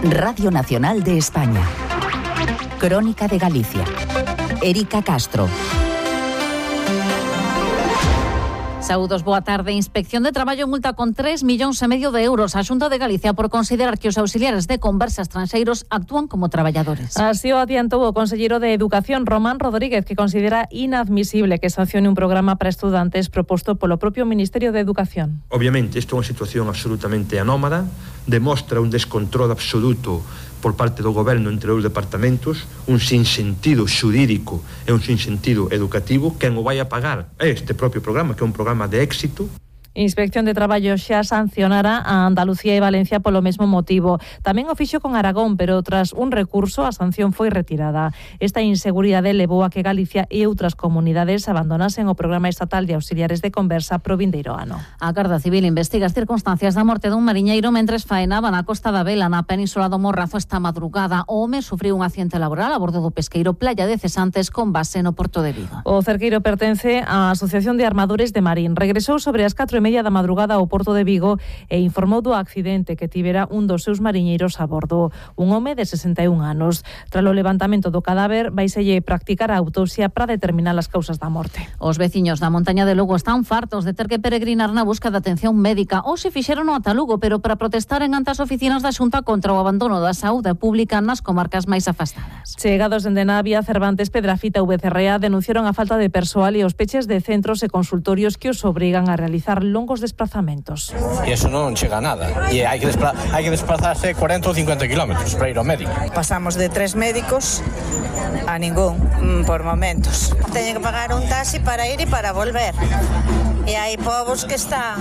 Radio Nacional de España. Crónica de Galicia. Erika Castro. Saúdos, boa tarde. Inspección de Traballo multa con 3,5 millóns de euros a Xunta de Galicia por considerar que os auxiliares de conversa estranxeiros actúan como traballadores. Así o adiantou o conselleiro de Educación, Román Rodríguez, que considera inadmisible que sancione un programa para estudantes proposto polo propio Ministerio de Educación. Obviamente, isto é unha situación absolutamente anómala, demostra un descontrol absoluto por parte do goberno entre os departamentos, un sinsentido xurídico e un sinsentido educativo. Quen o vai a pagar é este propio programa, que é un programa de éxito. Inspección de Traballo xa sancionara a Andalucía e Valencia polo mesmo motivo. Tamén o fixo con Aragón, pero tras un recurso a sanción foi retirada. Esta inseguridade levou a que Galicia e outras comunidades abandonasen o programa estatal de auxiliares de conversa pro vindeiro ano. A Garda Civil investiga as circunstancias da morte dun mariñeiro mentres faenaba na Costa da Vela, na Península do Morrazo, esta madrugada. O home sufriu un accidente laboral a bordo do pesqueiro Playa de Cesantes con base no Porto de Vigo. O cerqueiro pertence á Asociación de Armadores de Marín. Regresou sobre as 4:30 da madrugada ao Porto de Vigo e informou do accidente que tivera un dos seus mariñeiros a bordo, un home de 61 anos. Tras o levantamento do cadáver, vaiselle practicar a autopsia para determinar as causas da morte. Os veciños da montaña de Lugo están fartos de ter que peregrinar na busca de atención médica. Ou se fixeron ata Lugo, pero para protestar en ante as oficinas da Xunta contra o abandono da saúde pública nas comarcas máis afastadas. Chegados dende Navia, Cervantes, Pedrafita e VCRA denunciaron a falta de persoal e os peches de centros e consultorios que os obrigan a realizar longos desplazamentos. E eso non chega a nada. E hai que desplazarse 40 ou 50 kilómetros para ir ao médico. Pasamos de 3 médicos a ningún por momentos. Teñen que pagar un taxi para ir e para volver. E hai povos que están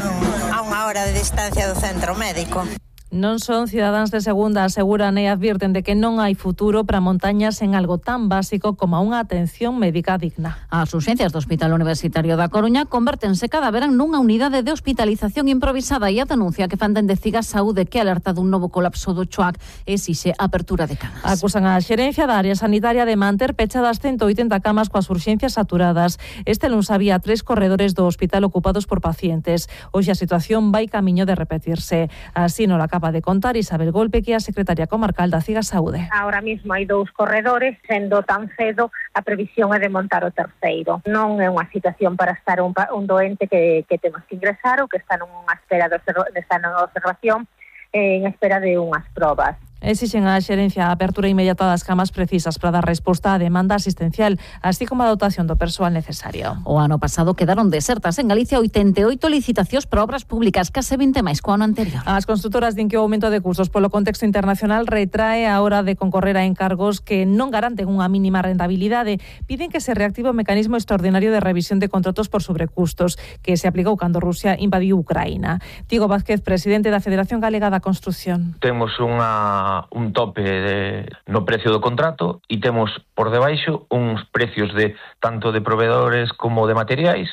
a 1 hora de distancia do centro médico. Non son cidadáns de segunda, aseguran e advirten de que non hai futuro para montañas en algo tan básico como unha atención médica digna. As urxencias do Hospital Universitario da Coruña convértense cada verán nunha unidade de hospitalización improvisada e a denuncia que fan dende Cigas Saúde, que alerta dun novo colapso do Choac, exixe apertura de camas. Acusan a xerencia da área sanitaria de manter pechadas 180 camas coas urxencias saturadas. Este luns había 3 corredores do hospital ocupados por pacientes. Hoxe a situación vai camiño de repetirse. Así non acaba de contar Isabel Golpe, que é a secretaria comarcal da Cigas Saúde. Ahora mismo hai 2 corredores, sendo tan cedo a previsión é de montar o terceiro. Non é unha situación para estar un doente que temos que ingresar ou que está nunha espera está nunha observación en espera de unhas probas. Exixen a xerencia a apertura inmediata das camas precisas para dar resposta á demanda asistencial, así como a dotación do persoal necesario. O ano pasado quedaron desertas en Galicia 88 licitacións para obras públicas, case 20 máis co ano anterior. As construtoras din que o aumento de custos polo contexto internacional retrae a hora de concorrer a encargos que non garanten unha mínima rentabilidade. Piden que se reactive o mecanismo extraordinario de revisión de contratos por sobrecustos que se aplicou cando Rusia invadiu Ucraína. Tiago Vázquez, presidente da Federación Galega da Construción. Temos un tope no precio do contrato e temos por debaixo uns precios tanto de proveedores como de materiais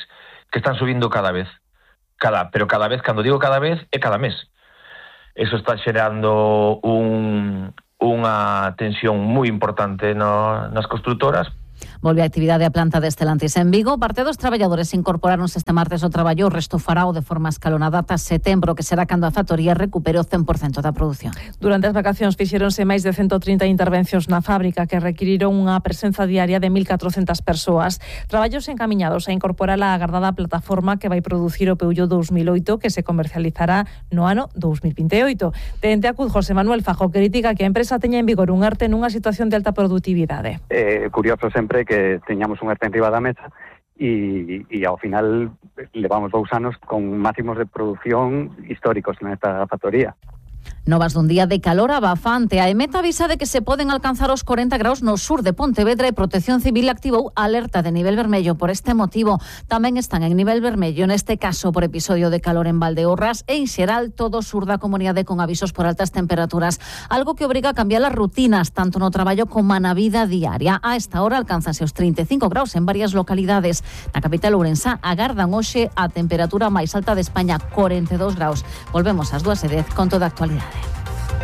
que están subindo cada vez. Pero cada vez, cando digo cada vez, é cada mes. Eso está xerando unha tensión moi importante nas construtoras. Volve a actividade a planta de Estelantis en Vigo. Parte dos traballadores incorporaronse este martes ao traballo. O resto farao de forma escalonada ata setembro, que será cando a factoría recupere o 100% da produción. Durante as vacacións fixeronse máis de 130 intervencións na fábrica que requiriron unha presenza diaria de 1.400 persoas. Traballos encamiñados a incorporar a agardada plataforma que vai producir o Peugeot 2008, que se comercializará no ano 2028. Dende Acud, José Manuel Fajo critica que a empresa teña en vigor un ERTE nunha situación de alta productividade. Curioso sempre que teñamos un ERTE enriba da mesa e ao final levamos 2 anos con máximos de produción históricos nesta factoría. Novas dun día de calor abafante. A EMET avisa de que se poden alcanzar os 40 graus no sur de Pontevedra e Protección Civil activou alerta de nivel vermello por este motivo. Tamén están en nivel vermello, neste caso por episodio de calor en Valdeorras e en xeral todo o sur da comunidade con avisos por altas temperaturas, algo que obriga a cambiar as rutinas tanto no traballo como na vida diaria. A esta hora alcánzase os 35 graus en varias localidades. Na capital ourensá agardan hoxe a temperatura máis alta de España, 42 graus. Volvemos ás 2:10 con toda a actualidade.